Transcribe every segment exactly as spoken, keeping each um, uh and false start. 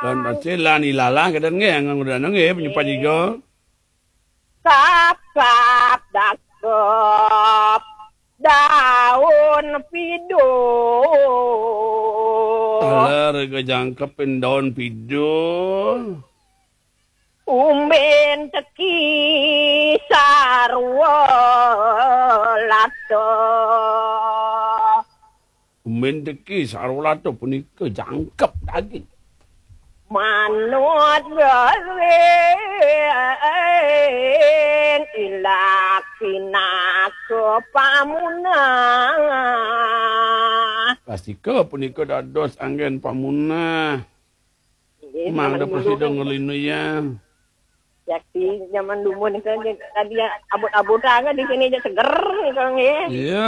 Daun pacé lan ilalang kadén nggih, nganggo dana nggih, penyupat juga. Kap, kap, dakep, daun pido. Taler ke jangkep daun pido. Umbin teki sarwa lata. Umbin teki sarwa lata punika jangkep daging. Manut garing ilak pinaka pamunah. Pastika punika dados anggén pamunah. Nggih, mangda zaman dulu prasida kan ngelinu ya. Yakti zaman dulu nih kan, tadi ya, abut-abut aja di sini aja seger nih kan, nggih. Iya.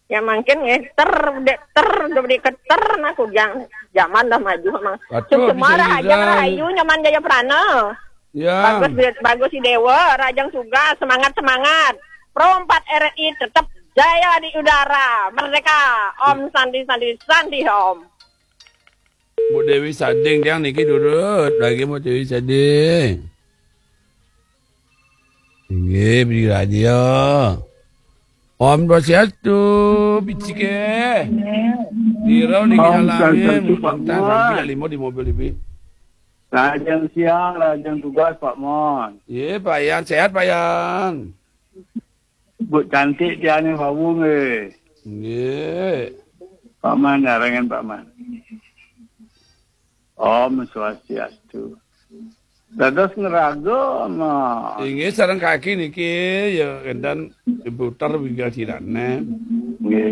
Ya mungkin nggih, ter, dek ter, gede keter, nah kujang. Zaman dah maju, Mang. Betul, semua bisa aja bisa. Rahayu, nyaman Jaya Prana. Ya. Bagus, bagus si Dewa, Rajang Suga, semangat, semangat. Pro empat R I tetap jaya di udara, merdeka. Om Santi, Santi, Santi Om. Bu Dewi Sading tiang niki durut lagi Bu Dewi Sading. Inggih, beli radio. Om Swastiastu, picike. Tiro niki Om alamin, Swastiastu, Pak Mon. Sampai lima di mobil ibu. Lajeng siang, lajeng tugas, Pak Mon. Iya, Pak Yan, sehat Pak Yan. Bu cantik tiane wau nggih. Nggih. Paman, narengan Paman. Om Swastiastu. Dados ngraga, Mas. Inggih, sareng kaki niki ya enten diputer wigatirane. Nggih.